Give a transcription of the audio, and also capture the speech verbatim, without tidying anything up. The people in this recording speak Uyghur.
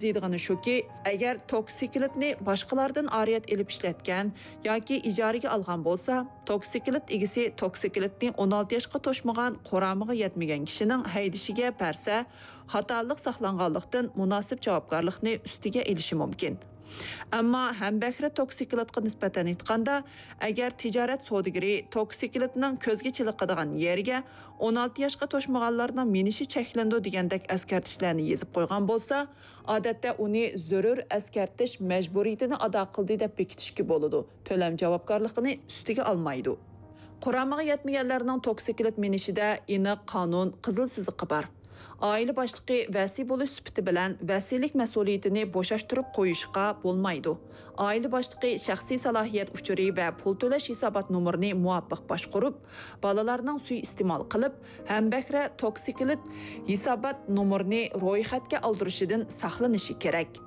ئەرزىيدىغىنى شۇكى، ئەگەر توكسىكلىتنى باشقىلاردىن ئارىيەت ئېلىپ ئىشلەتكەن ياكى ئىجارىگە ئالغان بولسا، توكسىكلىت ئىگىسى توكسىكلىتنى ئون ئالتە ياشقا توشمىغان قۇرامىغا يەتمىگەن كىشىنىڭ ھەيدىشىگە بەرسە، خاتالىق ساقلانغانلىقتىن مۇناسىپ جاۋابكارلىقنى ئۈستىگە ئېلىشى مۇمكىن. ئەمما ھەمبەھرە توكسىكلىتقا نىسبەتەن ئېيتقاندا، ئەگەر تىجارەت سودىگىرى توكسىكلىتنىڭ كۆزگە چېلىقىدىغان يېرىگە ئون ئالتە ياشقا توشمىغانلارنىڭ مىنىشى چەكلىنىدۇ دېگەندەك ئەسكەرتىشلەرنى يېزىپ قويغان بولسا، ئادەتتە ئۇنى زۆرۈر ئەسكەرتىش مەجبۇرىيىتىنى ئادا قىلدى دەپ بېكىتىشكە بولىدۇ، تۆلەم جاۋابكارلىقىنى ئۈستىگە ئالمايدۇ. قۇرامىغا يەتمىگەنلەرنىڭ توكسىكلىت مىنىشىدە ئېنىق قانۇن قىزىل سىزىقى بار. ئائىلە باشلىقى ۋەسىي بولۇش سۈپىتى بىلەن ۋەسىيلىك مەسئۇلىيىتىنى بوشاشتۇرۇپ قويۇشقا بولمايدۇ. ئائىلە باشلىقى شەخسىي سالاھىيەت ئۇچۇرى ۋە پۇل تۆلەش ھېسابات نومۇرىنى مۇۋاپىق باشقۇرۇپ، بالىلارنىڭ سۇيىئىستېمال قىلىپ، ھەمبەھرە توكسىكلىت ھېسابات نومۇرىنى رويخەتكە ئالدۇرۇشىدىن ساقلىنىشى كېرەك.